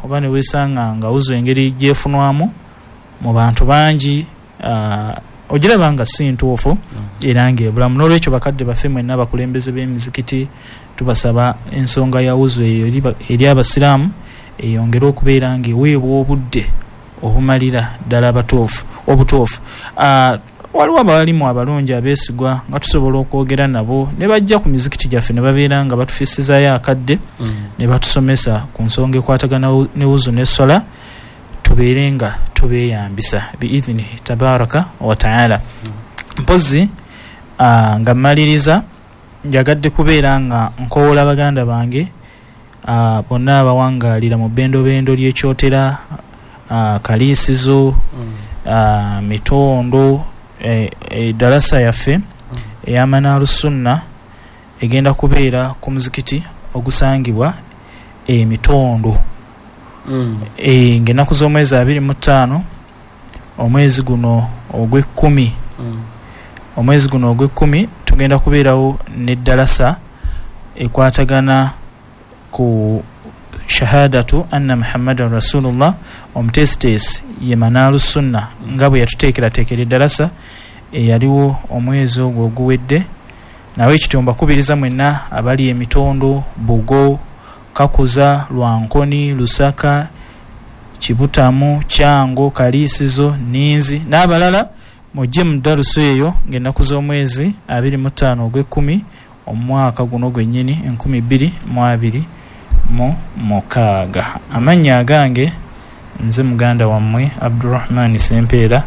Oba ne weesanga nga wuzu engeri gyefunwamu mu bantu bangi, ogiraba nga si ntuufu era ng'ebulamu. N'olwekyo bakadde baffe mwenna abakulembeze b'emizikiti, tubasaba ensonga ya wuzu eyo eri abasiraamu eyongere okubeera ng'eweebwa obudde obumalira ddala abatuufu obutuufu. Waliwo abalimu abalungi abeesigwa nga tusobola okwogera nabo ne bajja ku mizikiti gyaffe ne babeera nga batufissizaayo akadde ne batusomesa ku nsonga ekwatagana ne wuzu n'esswala, tubeere nga tubeeyambisa biidhinihi tabaraka wa taala. Mpozi nga mmaliriza, njagadde kubeera nga nkowoola baganda bange bonna abawangaalira mu bbendobendo ly'ekyotera, Kaliisizo, Mitondo, edalasa yaffe eya Manaalu Sunna egenda kubeera ku muzikiti ogusangibwa e Mitondo ng'ennaku z'omwezi 25 omwezi guno ogw'ekkumi. Omwezi guno ogw'ekkumi tugenda kubeerawo n'eddalasa ekwatagana ku shahadatu anna Muhammadan Rasulullah. Omuteesiteesi ye Manaalu Sunna nga bwe yatuteekerateekera eddalasa eyaliwo omwezi ogwo oguwedde. Nawe ekityo mbakubiriza mwenna abali e Mitondo, Bugo, Kakuza, Lwankoni, Lusaka, Kibutamu, Kyango, Kaliisizo, Nninzi n'abalala mujje mu darusu eyo ng'ennaku z'omwezi 25 ogw'ekkumi omwaka guno gwennyini 2026. Amannya agange nze muganda wammwe Abdurahman Sempeera,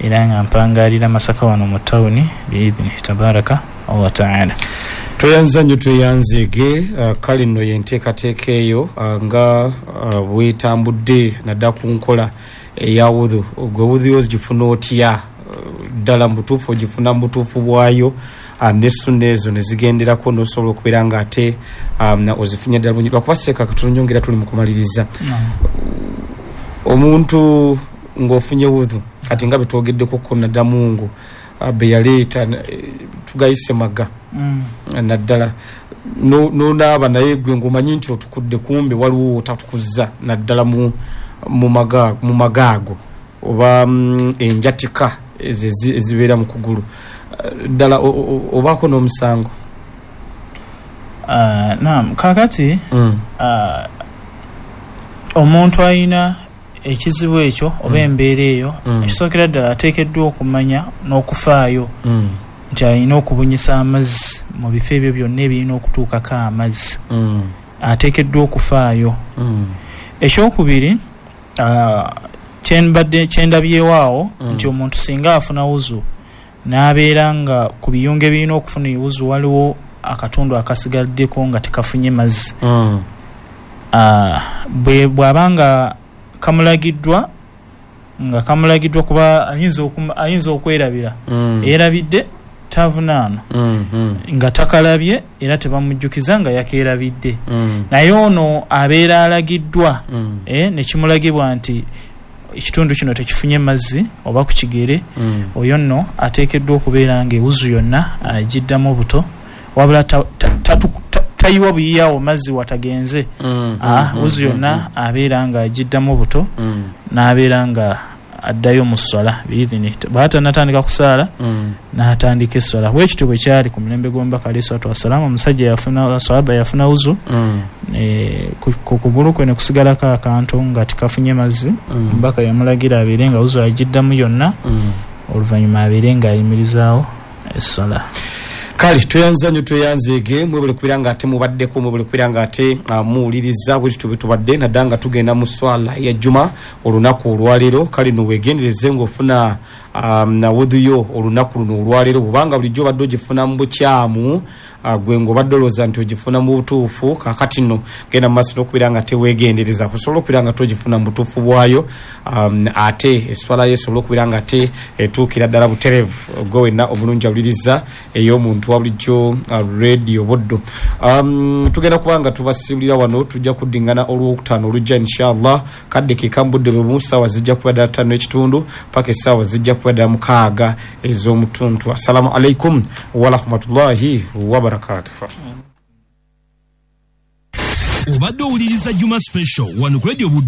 era nga mpangaalira Masaka wano mu tawuni biidhinihi tabaraka wa taala. Tweyanza nnyo, tweyanzeege. Kale nno yenteekateeka eyo nga bwetambudde naddala ku nkola eya wudhu. Gwe wudhu yo ogifuna otya ddala mu butuufu? Ogifuna mu butuufu bwayo ne sunna ezo ne zigenderako n'osobola okubeera nga ate ozifunye ddala bulungi? Lwakuba seeka katono nnyo ngera tuli mu kumaliriza. Omuntu ng'ofunye wudhu kati nga betwogeddeko ko naddala mungu be yaleeta, tugayise maga, naddala nonaaba naye gwe ng'omanyi nti otukudde, kumbe waliwo wootatukuzza naddala mu maga ago oba enjatika ezo ezibeera mu kugulu, ddala obaako n'omusango? Naam, kakati omuntu alina ekizibu ekyo oba embeera eyo, ekisookera ddala ateekeddwa okumanya n'okufaayo nti alina okubunyisa amazzi mu bifo ebyo byonna ebirina okutuukako amazzi. Ateekeddwa okufaayo. Ekyokubiri, kyembadde kyendabyewo awo nti omuntu singa afuna wuzu n'abeera nga ku biyungo ebirina okufuna ewuzu waliwo akatundu akasigaddeko nga tekafunye mazzi, bw'aba nga kamulagiddwa, nga kamulagiddwa, kuba ayinza okwerabira, eyerabidde tavunaano nga takalabye era tebamujjukiza nga yakeerabidde. Naye ono abeera alagiddwa, nekimulagibwa nti ekitundu kino tekifunye mazzi oba ku kigere, oyo nno ateekeddwa okubeera nga ewuzu yonna agiddamu buto, wabula tayiwa buyiyawo mazzi watagenze. Wuzu yonna abeera nga agiddamu buto n'abeera nga addayo mu sswala biidhini. Bw'aba tannatandika kusaala, n'atandika esswala. Bwe kityo bwe kyali ku mulembe gw'omubaka alaihi salatu wassalaamu. Omusajja yafuna, sahaba yafuna wuzu, ku kugulu kwe ne kusigalako akantu nga tikafunye mazzi. Omubaka yamulagira abeere nga wuzu agiddamu yonna, oluvannyuma abeere ng'ayimirizaawo esswala. Kale tweyanza nnyo, tweyanzeege. Mwebale kubeera nga ate mubaddeko, mwebale kubeera nga ate muwuliriza. Bwe tutyo bwe tubadde naddala nga tugenda mu swala ya juma olunaku olwaleero. Kale no weegendereze ng'ofuna wudhu yo olunaku luno olwaleero, bwobanga bulijjo obadde ogifuna mu bukyamu, gwe ng'obadde olowooza nti ogifuna mu butuufu, kaakati nno genda mu maaso n'okubeera nga teweegendereza kusobola okubeera nga togifuna mu butuufu bwayo, ate eswala yo esobola okubeera nga ate etuukira ddala butereevu. Gwe wenna omulungi awuliriza ey'omuntu wa bulijjo, Radio Buddu, tugenda kuba nga tubasiibulira wano. Tujja kuddingana olwokutaano olujja inshallah, kadde ke kambudde bwe bumu, ssaawa zijja kuba ddala 5:15 paka essaawa zijja kuba ddala 6 ez'omutuntu. Assalamu alaikum warahmatullahi wabarakatuh. Obadde owuliriza Juma Special wano ku Radio Buddu.